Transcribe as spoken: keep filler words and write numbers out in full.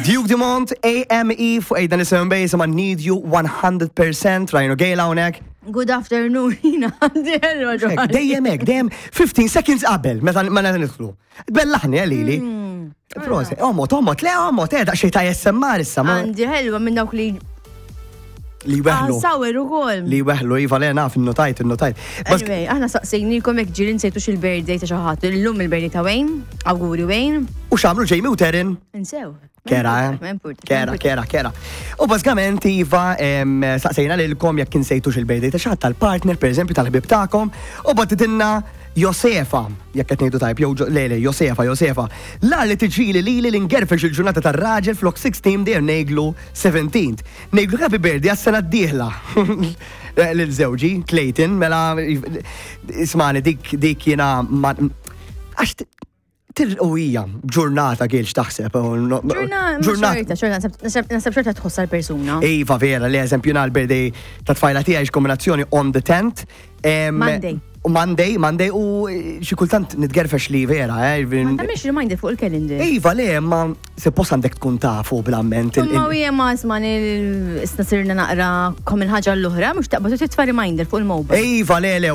Duke Dumont, A M E fuq Ejda Nisimgħu Base ma' Need You one hundred percent, Ryan u Gail hawnhekk. Good afternoon, jina għandi ħelwa. Hekk, dejjem hekk, dejjem fifteen seconds qabel meta ma nidħlu. Bellaħni għalili. Prosit, omot, omot, le omot, eh, daqsxejn ta' A S M R issa. ma- Għandi ħelwa minn dawk li Li weħlu. Sour ukoll. Li weħlu, iva, le naf, innotajt, innotajt. Bas- Anyway, aħna saqsejnikom jekk ġieli nsejtux il-birthday ta' xi ħadd. Illum il-birthday ta' Wayne, awguri Wayne. U x'għamlu Jamie u Terin? Insew. Kera, eh? Ma importa. Kera, kera, kera. U bażikament, iva, em, saqsejna lilkom jekk insejtux il-birthday ta' xi ħadd, tal-partner, per eżempju, tal-ħbib tagħkom, u bagħtitilna Josefa, jekk qed ngħidu tajb, jew Jo- le, le, Josefa, Josefa. La li tiġili li li l-ingerfex il-ġurnata tar-raġel, flok sittax dejjem ngħidlu seventeen. Ngħidlu happy birthday għas-sena d-dieħla. Lil żewġi, Clayton, mela ismani dik dik jiena ma għax u hija ġurnata kielx taħseb. Ġurnata, xorta, xorta, naħseb xorta tħossa l-persuna. Iva, vera, li eżempju na l-birthday ta' tfajla tiegħi kombinazzjoni on the tenth. Em, Monday. U Monday, Monday u xi kultant nitgerfex li vera, eh. Ma tagħmilx reminder fuq il-calendar? Iva, le, ma suppost għandek tkun tafu bl-amment. il- Ma il- u ma isma' issa sirna naqra kom il-ħaġa l-oħra, mhux taqbad u titfa' reminder fuq il-mobile. Iva, le, le, u